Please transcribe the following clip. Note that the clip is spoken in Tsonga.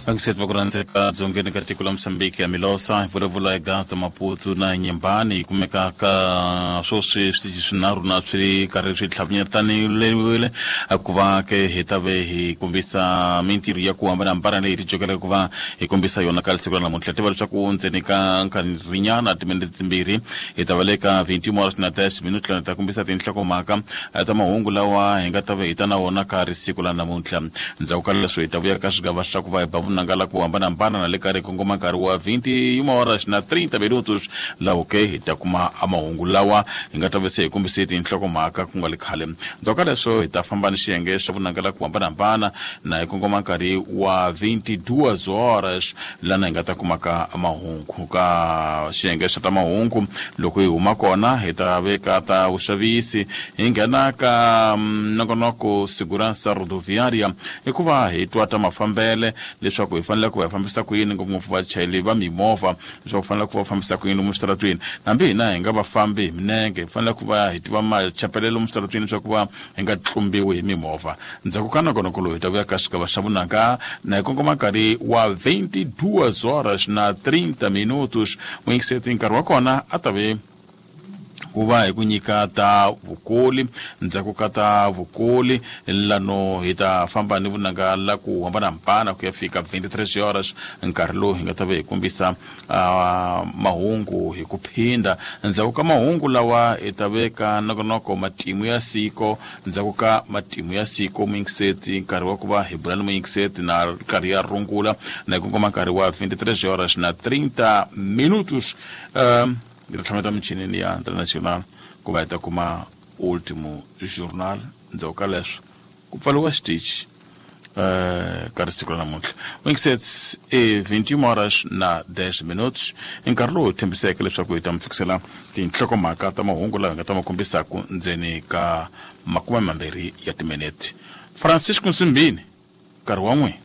Vakusetu va ku rhandzeka dzongeni ka tiko la Mozambique ya Milosa hi vulavula hi Gaza Maputo na Nyembani yi kumeka ka swoswi switichi swinharhu na swi ri karhi swi tlhavinyetanile ku va ke hi ta ve hi kombisa mintirho ya ku hambanahambana leyi ti jokeleke ku va hi kombisa yona ka siku ra namuntlha. Tiva leswaku ndzeni ka nkarhinyana timinete timbirhi hi ta va le ka 21 horas na 10 minutos lana ta kombisa tinhlokomhaka ta mahungu lawa hi nga ta ve hi ta na wona ka ri siku la namuntlha. Ndzhaku ka leswo hi ta vuya ka swigava swa ku va hi ba vunanga la ku hambanahambana na le ka ri kongoma nkarhi wa 21 horas na 30 minutos lawo ke hi ta kuma mahungu lawa hi nga ta ve se hi kombise tinhlokomhaka ku nga le khale. Ndzhaku ka leswo hi ta famba ni xiyenge xa vunanga la ku hambanahambana na hi kongoma nkarhi wa 22 horas lana hi nga ta kumaka mahungu ka xiyenge xa ta mahungu. Loko hi huma kona hi ta veka ta vuxavisi hi nghena ka nongonoko Segurança Rodoviária hikuva hi twa ta mafambele leswaku hi fanele ku va hi fambisa ku yini ngopfungopfu vachayeri va mimovha leswaku fanele ku va fambisa ku yini lomu switaratwini. Hambi hina hi nga va fambi hi minenge hi fanele ku va hi tiva machapelelo lomu switaratwini leswaku va hi nga tlumbiwi hi mimovha. Ndzhaku ka nongonoko lowu hi ta vuya ka xigava xa vunanga na hi kongoma nkarhi wa 22 horas na 30 minutos. Muyingiseti nkarhi wa kona a ta ve ku va hi ku nyika ta vukoli. Ndzhaku ka ta vukoli lano hi ta famba ni vunanga la ku hambanahambana ku ya fika 23 horas nkarhi lowu hi nga ta ve hi kombisa mahungu hi ku phinda. Ndzhaku ka mahungu lawa hi ta veka nongonoko matimu ya siko. Ndzhaku ka matimu ya siko muyingiseti nkarhi wa ku va hi bula ni muyingiseti na nkarhi ya rungula na hi kongoma nkarhi wa 23 horas na 30 minutos. Hi ta tlhameta michinini ya International ku va hi ta kuma Ultimo Journal. Ndzhaku ka leswo ku pfariwa xitichi ka risiku ra namuntlha. Muyingiseti i 21 horas na 10 minutos i nkarhi lowu hi tshembiseke leswaku hi ta mi fikisela tinhlokomhaka ta mahungu lawa hi nga ta ma kombisaku ndzeni ka makume mambirhi ya timinete. Francisco Nsimbini nkarhi wa n'wina.